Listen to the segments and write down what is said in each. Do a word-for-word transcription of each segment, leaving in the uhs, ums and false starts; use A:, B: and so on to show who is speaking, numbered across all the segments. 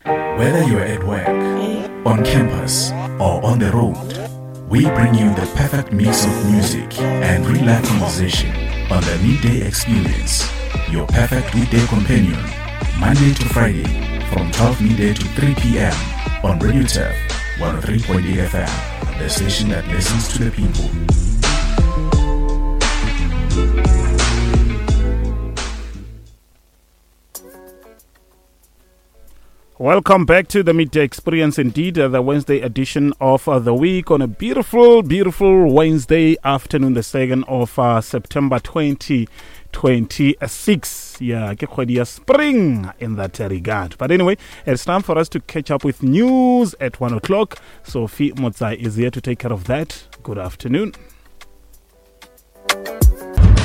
A: Whether you're at work, on campus, or on the road, we bring you the perfect mix of music and real life conversation on the Midday Experience, your perfect weekday companion, Monday to Friday from twelve midday to three p.m. on Radio Turf one oh three point eight F M, the station that listens to the people.
B: Welcome back to the Midday Experience, indeed, uh, the Wednesday edition of uh, the week on a beautiful, beautiful Wednesday afternoon, the second of uh, September twenty twenty-six. Yeah, ke kgwedi ya spring in that regard. But anyway, it's time for us to catch up with news at one o'clock. Sophie Motsai is here to take care of that. Good afternoon.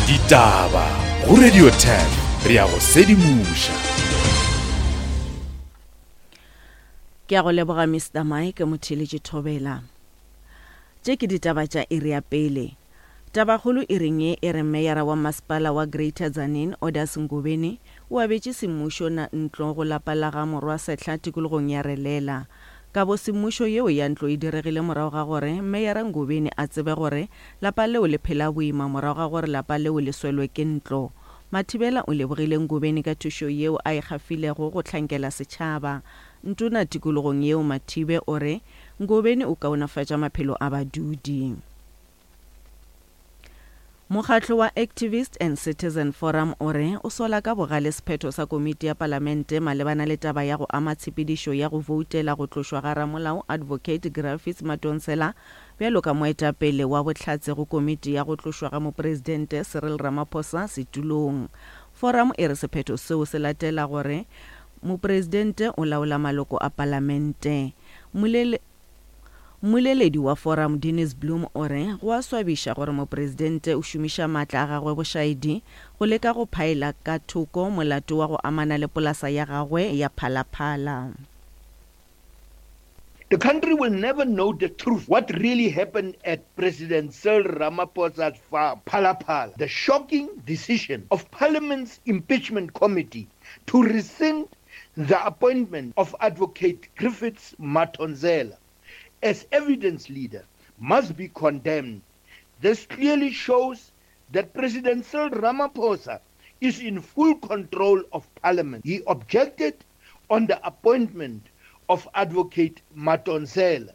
A: Ditaba go Radio ten, re a go sedimoša.
C: Ke a go leboga Mister Mike Motheletše Thobela. Tše ke ditaba tša iri ya pele. Tabakgolo e reng ye e re meyara wa masepala wa Greater Tzaneen Odas Ngobeni o abetše semmušo na ntlo go lapa la ga morwa Sehla tikologong ya Relela. Kabo semmušo yeo ya ntlo e diregile morago ga gore meyara Ngobeni a tsebe gore lapa leo le phela boima morago ga gore lapa leo le swelwe ke ntlo. Mathibela o lebogile Ngobeni ka thušo yeo a e gafilego go hlankela setšhaba. Ntona tikologong yeo Mathibe o re Ngobeni o kaonafatša maphelo a badudi. Mokgatlo wa Activist and Citizen Forum o re o sola ka bogale sephetho sa komiti ya palamente malebana le taba ya go ama tshepedišo ya go voutela go tlošwa ga ramolao Advocate Griffiths Madonsela bjalo ka moetapele wa bohlatse go komiti ya go tlošwa ga mopresidente Cyril Ramaphosa setulong. Forum e re sephetho seo se latela gore mopresidente o laola maloko a palamente. Mmolele Mmoleledi wa forum Dennis Bloom o re go a swabiša gore mopresidente o šomiša maatla a gagwe bošaedi go leka go phaela ka thoko molato wa go amana le polasa ya gagwe ya Phalaphala.
D: The country will never know the truth, what really happened at President Cyril Ramaphosa's farm, Phalaphala. The shocking decision of Parliament's impeachment committee to rescind the appointment of Advocate Griffiths Madonsela as evidence leader must be condemned. This clearly shows that President Cyril Ramaphosa is in full control of Parliament. He objected on the appointment of Advocate Madonsela.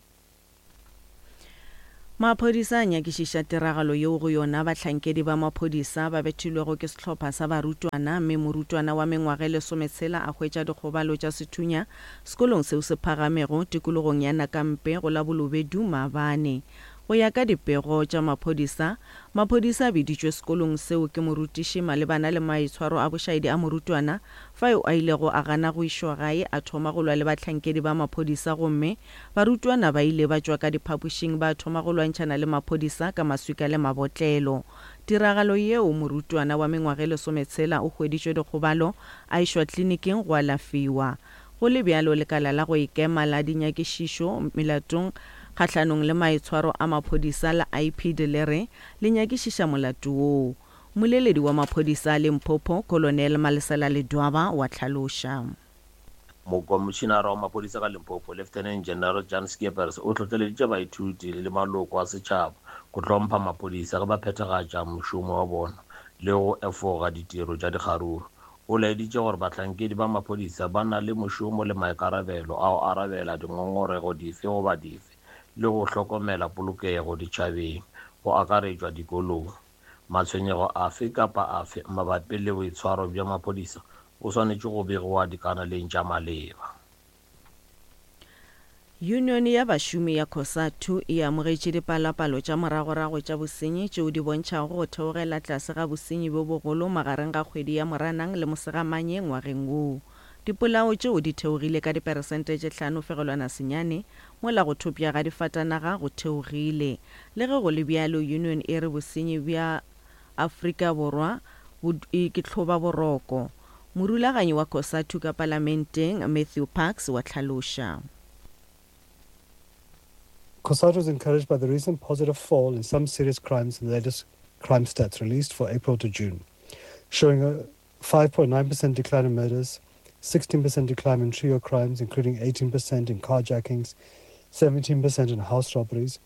C: Maphodisa a nyakišiša tiragalo yeo go yona bahlankedi ba maphodisa ba bethilwego ke sehlopha sa barutwana mme morutwana wa mengwaga e lesometshela a hwetša dikgobalo tša sethunya sekolong seo se phagamego tikologong ya Nakampe go la Bolobedu maabane. Go ya ka dipego tša maphodisa, maphodisa a biditšwe sekolong seo ke morutiši malebana le maitshwaro a bošaedi a morutwana fao a ilego a gana go išwa gae a thoma go lwa le bahlankedi ba maphodisa gomme barutwana ba ile ba tšwa ka diphapošing ba thoma go lwantšhana le maphodisa ka maswika le mabotlelo. Tiragalo yeo morutwana wa mengwaga e lesometshela o hweditšwe dikgobalo a išwa tleliniking go alafiwa. Go le bjalo lekala la go ikema la dinyakišišo melatong kgahlanong le maitshwaro a maphodisa la I P D le re le nyakišiša molato woo. Mmoleledi wa maphodisa a Limpopo, Colonel Malesela Ledwaba wa hlaloša.
E: Mokomišinara wa maphodisa ka Limpopo, Lieutenant General Jan Skeepers, o hlohleleditše baithuti le maloko a setšhaba go hlompha maphodisa ge ba phethagatša mošomo wa bona le go efoga ditiro tša dikgaruru. O laeditše gore bahlankedi ba maphodisa ba na le mošomo le maikarabelo a go arabela dingongorego dife goba dife le go hlokomela polokego ditšhabeng go akaretšwa dikolong. Matshwenyego afe kapa afe mabapi le boitshwaro bja maphodisa o swanetše go begiwa dikanaleng tša maleba.
C: Union ya bašomi ya COSATU e amogetše dipalopalo tša moragorago tša bosenyi tšeo di bontšhago go theogela tlase ga bosenyi bjo bogolo magareng ga kgwedi ya Moranang le Mosegamanye ngwageng woo. Dipolao tšeo di theogile ka diperesente tše hlano fegelwana senyane mola go thopša ga difatanaga go theogile. Le ge go le bjalo, union e re bosenyi bja Afrika Borwa bo ke hloba boroko. Morulaganyi wa COSATU ka palamenteng Matthew Parks wa hlaloša.
F: COSATU is encouraged by the recent positive fall in some serious crimes in the latest crime stats released for April to June, showing a five point nine percent decline in murders, sixteen percent decline in trio crimes, including eighteen percent in carjackings, seventeen percent in house robberies,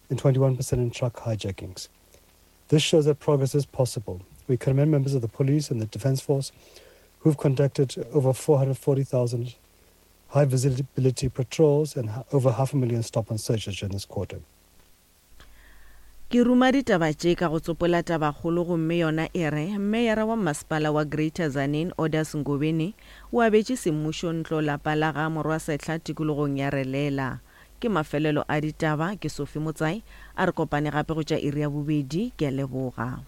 F: and twenty-one percent in truck hijackings. This shows that progress is possible. We commend members of the police and the Defence Force who've conducted over four hundred forty thousand high visibility patrols and ha-, over half a million stop and searches during this quarter.
C: Ke ruma ditaba tše ka go tsopola tabakgolo gomme yona e re meyara wa masepala wa Greater Tzaneen Orders Ngobeni o abetše semmušo ntlo lapa la ga Morwasehla tikologong ya Relela. Ke mafelelo a ditaba, ke Sophie Motsai, a re kopane gape go tša iri ya bobedi, ke a leboga.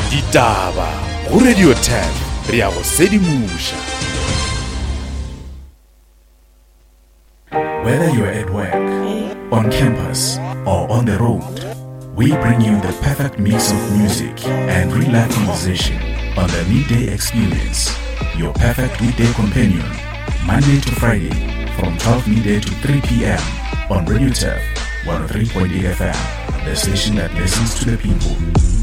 A: Ditaba go Radio ten, re ya go sedimoša. Whether you're at work, on campus, or on the road, we bring you the perfect mix of music and real-life conversation on the Midday Experience, your perfect weekday companion, Monday to Friday from twelve midday to three p m on Radio Turf one oh three point eight F M, the station that listens to the people.